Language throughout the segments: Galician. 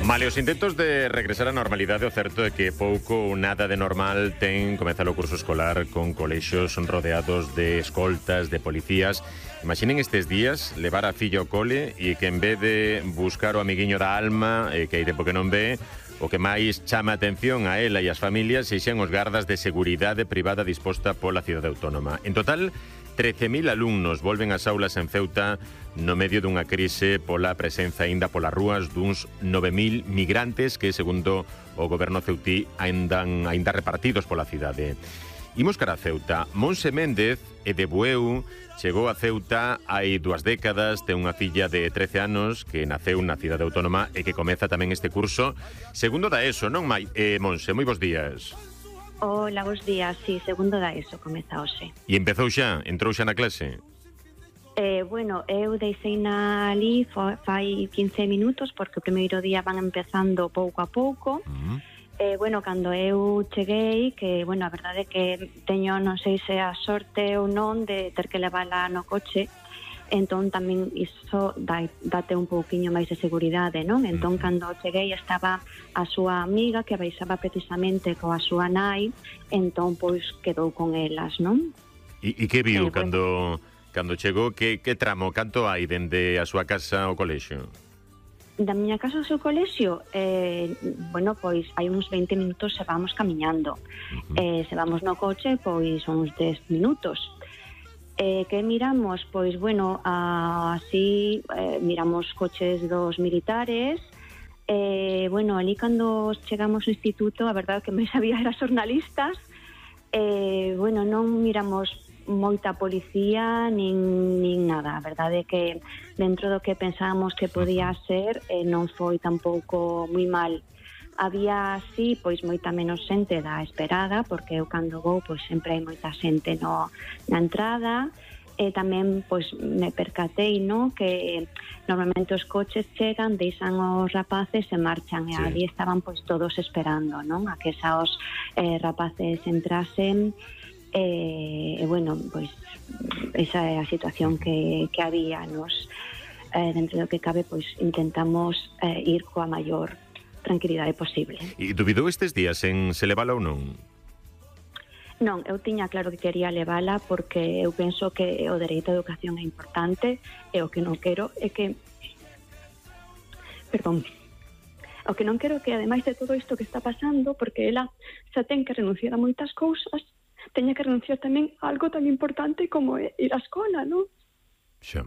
Male os intentos de regresar á normalidade, o certo é que pouco ou nada de normal ten comezar o curso escolar con colexios rodeados de escoltas, de policías. Imaginen estes días levar a filla ao cole e que en vez de buscar o amiguiño da alma, que hai tempo que non ve, o que máis chama a atención a ela e as familias sexan os gardas de seguridade privada disposta pola cidade autónoma. En total, 13.000 alumnos volven ás aulas en Ceuta no medio dunha crise pola presenza aínda polas rúas duns 9.000 migrantes que, segundo o goberno ceutí, aínda repartidos pola cidade. Imos cara a Ceuta. Monse Méndez é de Bueu, chegou a Ceuta hai 2 décadas, ten unha filla de 13 anos que naceu na cidade autónoma e que comeza tamén este curso. Segundo da ESO, non, Monse? Moi bons días. Hola, bons días. Sí, segundo da ESO, comeza hoxe. E empezou xa? Entrou xa na clase? Bueno, eu deixeina ali fai 15 minutos porque o primeiro día van empezando pouco a pouco. Bueno, cando eu cheguei, que, bueno, a verdade é que teño, non sei se a sorte ou non, de ter que levála no coche, entón tamén iso date un pouquiño máis de seguridade, non? Entón, cando cheguei estaba a súa amiga que baixaba precisamente coa súa nai, entón, pois, quedou con elas, non? E que viu cando chegou? Que tramo? Canto hai dende a súa casa ao colexio? Da miña casa ao seu colexio, bueno, pois hai uns 20 minutos se vamos camiñando. Se vamos no coche, pois uns 10 minutos. Que miramos? Pois, bueno, así miramos coches dos militares. Bueno, ali cando chegamos ao instituto, a verdade que me sabía era xornalistas. Bueno, non miramos moita policía nin nada. A verdade é que dentro do que pensábamos que podía ser, non foi tampouco moi mal. Había así, pois, moita menos xente da esperada, porque eu cando vou, pois, sempre hai moita xente na entrada. E tamén, pois, me percatei, no, que normalmente os coches chegan, deixan os rapaces e marchan, e ali estaban, pois, todos esperando, non, a que esos rapaces entrasen. E, bueno, pois, esa é a situación que había. Nos, dentro do que cabe, pois, intentamos ir coa maior tranquilidade posible. E dubidou estes días en se levala ou non? Non, eu tiña claro que quería levala porque eu penso que o dereito á educación é importante e o que non quero é que... Perdón. O que non quero que, ademais de todo isto que está pasando, porque ela xa ten que renunciar a moitas cousas, teña que renunciar tamén a algo tan importante como ir á escola, non? Xa.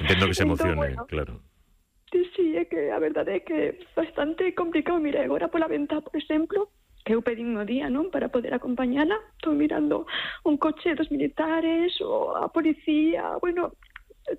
Entendo que se emocione, bueno, claro. Sí, é que a verdade é que é bastante complicado. Mire, agora pola ventá, por exemplo, que eu pedín no día, non, para poder acompañala, estou mirando un coche dos militares ou a policía, bueno,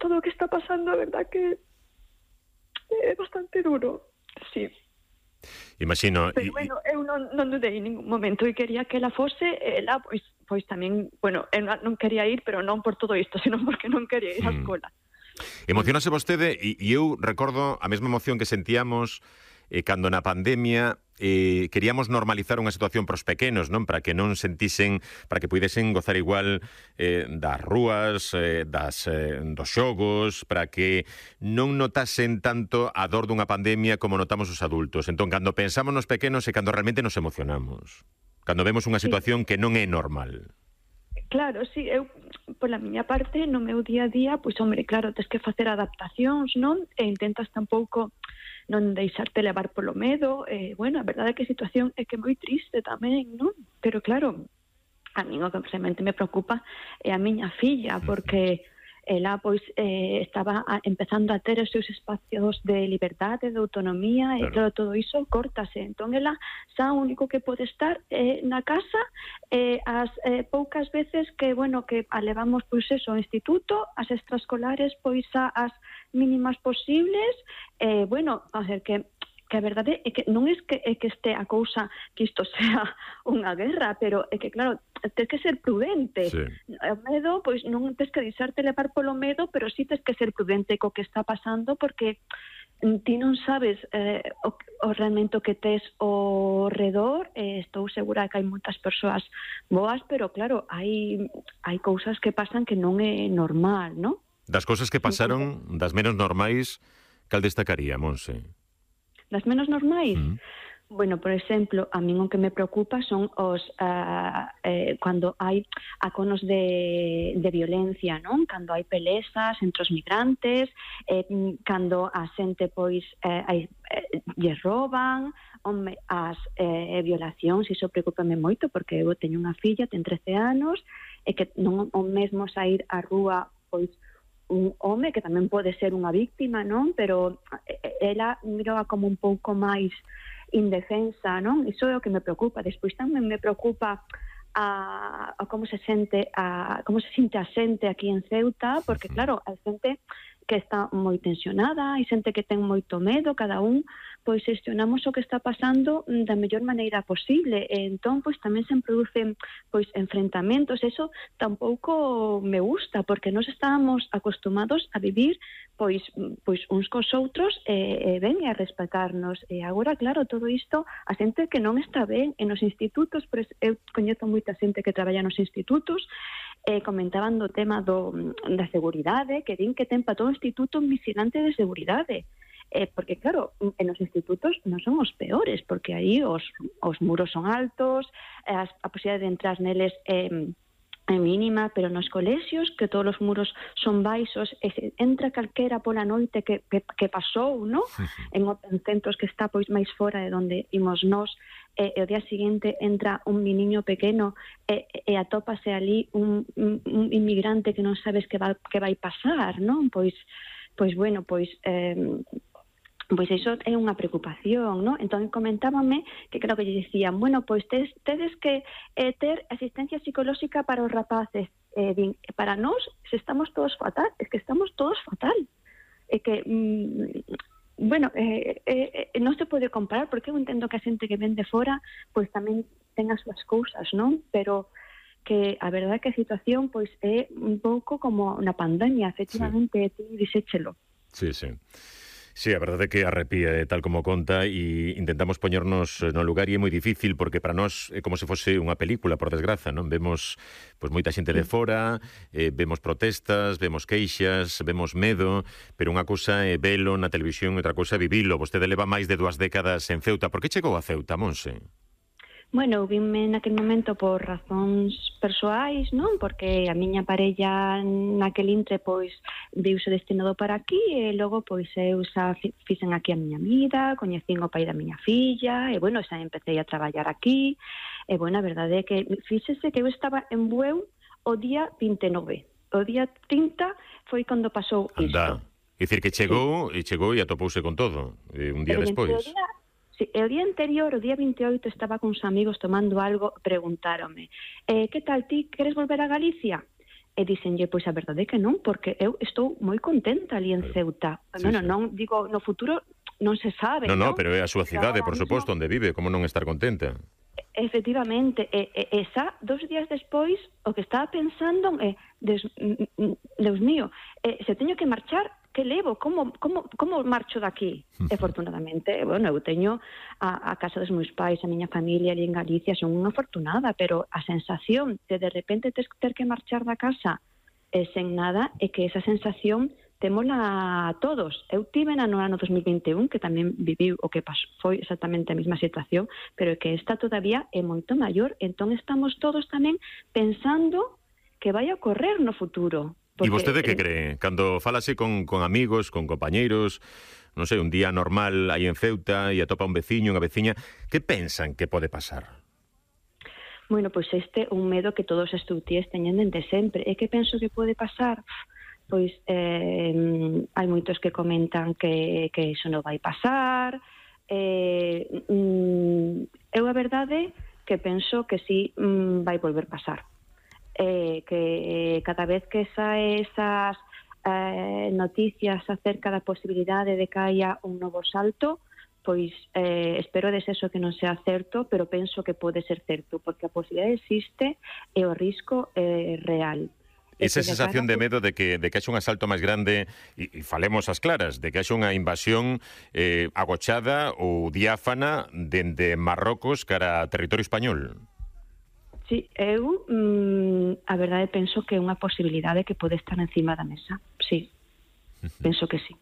todo o que está pasando, a verdade que é bastante duro, sí. Imagino. Pero, bueno, eu non dudei en ningún momento e quería que ela fose, ela, pois tamén, bueno, eu non quería ir, pero non por todo isto, sino porque non quería ir á escola. Emocionase vostede e eu recordo a mesma emoción que sentíamos cando na pandemia queríamos normalizar unha situación pros pequenos, non? Para que non sentisen, para que puidesen gozar igual das rúas, dos xogos, para que non notasen tanto a dor dunha pandemia como notamos os adultos. Entón, cando pensamos nos pequenos é cando realmente nos emocionamos. Cando vemos unha situación que non é normal. Claro, sí, eu, pola miña parte, no meu día a día, pois, hombre, claro, tens que facer adaptacións, non? E intentas tampouco non deixarte levar polo medo. Bueno, a verdade é que a situación é que é moi triste tamén, non? Pero, claro, a mí o que realmente me preocupa é a miña filla, porque ela, pois, estaba empezando a ter os seus espacios de liberdade, de autonomía, e, claro, todo iso córtase. Entón, ela xa o único que pode estar na casa, as poucas veces que, bueno, que a levamos, pois, eso, ao instituto, as extraescolares, pois, as mínimas posibles. Bueno, a ver, que a verdade é que non é que este a cousa que isto sea unha guerra, pero é que, claro, tens que ser prudente. Sí. O medo, pois non tens que deixarte levar polo medo, pero sí tens que ser prudente co que está pasando, porque ti non sabes o realmente o que tes ao redor. Estou segura que hai moitas persoas boas, pero claro, hai cousas que pasan que non é normal, non? Das cousas que pasaron, das menos normais, Cal destacaría, Monse? Das menos normais? Bueno, por exemplo, a min o que me preocupa son os cando hai aconos de violencia, non? Cando hai pelesas entre os migrantes, cando a xente pois lles roban, as violacións, iso preocupame moito porque eu teño unha filla, ten 13 anos, e que non o mesmo sair á rúa pois un home que tamén pode ser unha víctima, non? Pero ela miroa como un pouco máis indefensa, non? Iso é o que me preocupa. Despois tamén me preocupa a como se sente a xente aquí en Ceuta, porque claro, hai xente que está moi tensionada, hai xente que ten moito medo, cada un pois xestionamos o que está pasando da mellor maneira posible, e entón pois tamén se producen pois enfrentamentos. Eso tampouco me gusta, porque nós estábamos acostumados a vivir pois uns cos outros e ben a respetarnos, e agora claro, todo isto a xente que non está ben en os institutos, pero eu coñezo moita xente que traballa nos institutos, comentaban do tema da seguridade, que din que ten para todo o instituto un vigilante de seguridade, porque claro, en os institutos non son os peores, porque aí os muros son altos, a posibilidade de entrar neles é mínima, pero nos colexios, que todos os muros son baixos, e se entra calquera pola noite que pasou, non? En centros que está pois máis fora de onde imos nós, e o día seguinte entra un meniño pequeno e atópase ali un inmigrante que non sabes que vai pasar, non? Pois bueno, pois iso é unha preocupación, non? Entón comentábame que creo que lle dicían, bueno, pois tedes que ter asistencia psicolóxica para os rapaces. Din, para nós, se estamos todos fatal, é que estamos todos fatal. É que, bueno, non se pode comparar, porque eu entendo que a xente que ven de fora, pois tamén ten as súas cousas, non? Pero que a verdade é que a situación pois é un pouco como na pandemia, efectivamente, ti dixéchelo. Sí, sí. Sí, a verdade é que arrepía, tal como conta, e intentamos poñernos no lugar, e é moi difícil, porque para nós é como se fose unha película, por desgraza, non? Vemos pois moita xente de fora, vemos protestas, vemos queixas, vemos medo, pero unha cousa é velo na televisión e outra cousa é vivilo. Vostede leva máis de 2 décadas en Ceuta. Por que chegou a Ceuta, Monse? Bueno, eu vime naquele momento por razóns persoais, non? Porque a miña parella naquele intre, pois, viuse destinado para aquí, e logo, pois, eu xa fixen aquí a miña vida, coñecín o pai da miña filla, e, bueno, xa empecé a traballar aquí, e, bueno, a verdade é que fíxese que eu estaba en Bueu o día 29. O día 30 foi cando pasou isto. Anda, é dicir que chegou, sí. E chegou e atopouse con todo, un día despois. Sí, el día anterior, o día 28, estaba con uns amigos tomando algo, preguntáronme, que tal ti, queres volver a Galicia? E dixenlle, pois a verdade é que non, porque eu estou moi contenta ali en Ceuta. Sí, bueno, sí. Non digo, no futuro non se sabe, non? Non, pero é a súa cidade, por suposto, onde vive, como non estar contenta? Efectivamente, e xa 2 días despois, o que estaba pensando é, Deus mío, se teño que marchar, que levo? Como marcho daqui? E, afortunadamente, bueno, eu teño a casa dos meus pais, a miña familia ali en Galicia, son unha afortunada, pero a sensación de repente ter que marchar da casa sen nada, é que esa sensación témola a todos. Eu tive no ano 2021, que tamén viviu o que foi exactamente a mesma situación, pero que esta todavía é moito maior, entón estamos todos tamén pensando que vai a ocorrer no futuro. E vostede que cree? Cando falase con amigos, con compañeiros, non sei, un día normal aí en Ceuta e atopa un veciño, unha veciña, que pensan que pode pasar? Bueno, pois este é un medo que todos os estudiantes teñen dende sempre. E que penso que pode pasar? Pois hai moitos que comentan que iso non vai pasar. Eu a verdade que penso que sí vai volver pasar. Que cada vez que sae esas noticias acerca da posibilidade de que haya un novo salto, pois espero deseso que non sea certo, pero penso que pode ser certo, porque a posibilidade existe e o risco é real. Esa sensación de medo de que haxe un asalto máis grande, e falemos as claras, de que haxe unha invasión agochada ou diáfana dende Marrocos cara a territorio español. Sí, eu a verdade penso que é unha posibilidade que pode estar encima da mesa. Sí, penso que sí.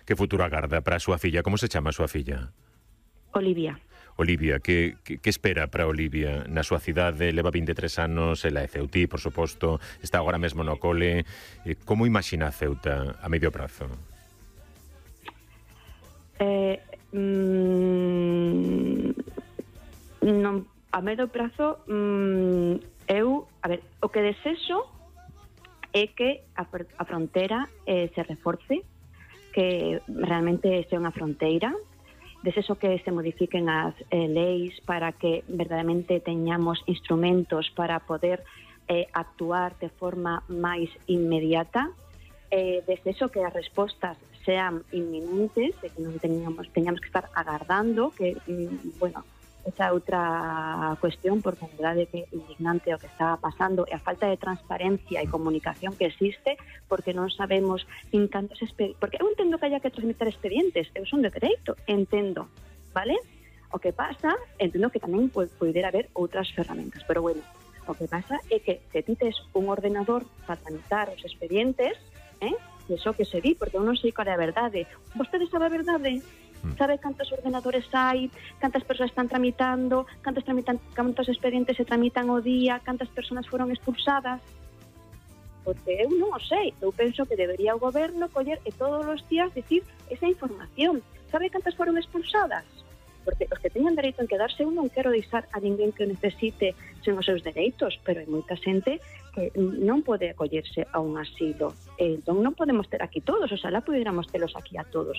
Que futuro agarda para a súa filla? Como se chama a súa filla? Olivia. Olivia, que espera para Olivia na súa cidade? Leva 23 anos, ela é ceutí, por suposto, está agora mesmo no cole. Como imagina a Ceuta a medio prazo? Non, a medio prazo, o que desexo é que a fronteira se reforce, que realmente sea unha fronteira. Desexo que se modifiquen as leis para que verdadeiramente teñamos instrumentos para poder actuar de forma máis inmediata. Desexo que as respostas sean inminentes, de que non teñamos que estar agardando, que, esa é outra cuestión, porque a verdade é que é indignante o que está pasando e a falta de transparencia e comunicación que existe, porque non sabemos en cantos porque eu entendo que haya que tramitar expedientes, eu son de dereito, entendo, vale? O que pasa, entendo que tamén poidera haber outras ferramentas, pero bueno, o que pasa é que se ti tes un ordenador para tramitar os expedientes, iso que se di, porque eu non sei qual é a verdade. Vostede sabe a verdade? Sabe cantos ordenadores hai, cantas persoas están tramitando, cantos expedientes se tramitan ao día, cantas persoas foron expulsadas? Porque eu non o sei. Eu penso que debería o goberno coller e todos os días dicir esa información. Sabe cantas foron expulsadas? Porque os que teñan dereito en quedarse, eu non quero deixar a ninguén que o necesite sen os seus dereitos, pero hai moita xente que non pode acollerse a un asilo. Entón non podemos ter aquí todos, oxalá pudiéramos telos aquí a todos,